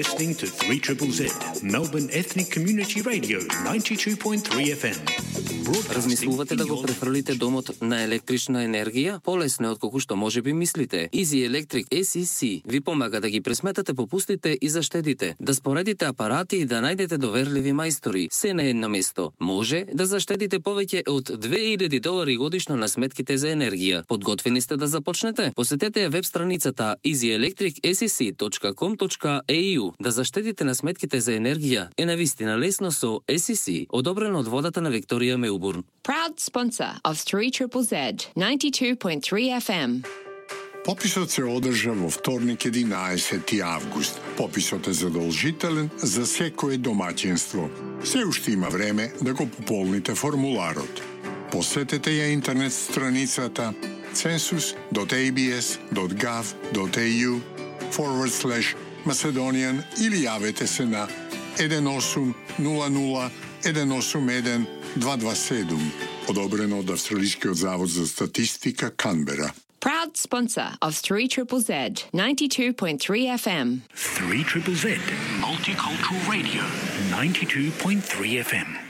Listening to 3ZZZ, Melbourne Ethnic Community Radio, 92.3 FM. Размислувате да го префрлите домот на електрична енергија? Полесно е отколку што можеби мислите. Easy Electric SEC ви помага да ги пресметате попустите и заштедите, да споредите апарати и да најдете доверливи мајстори, се на едно место. Може да заштедите повеќе од $2000 годишно на сметките за енергија. Подготвени сте да започнете? Посетете веб страницата easyelectricsec.com.au. Да заштедите на сметките за енергија е навистина лесно со SEC, одобрено од водата на Викторија Мелбурн. Proud sponsor of 3ZZZ 92.3 FM. Пописот се одржа во вторник 11 август. Пописот е задолжителен за секое домаќинство. Се уште има време да го пополните формуларот. Посетете ја интернет страницата census.abs.gov.au/Macedonian или јавете се на 1800 181 227, одобрено од Австралискиот завод за статистика Канбера. Proud sponsor of 3ZZZ 92.3 FM. 3ZZZ, Multicultural Radio, 92.3 FM.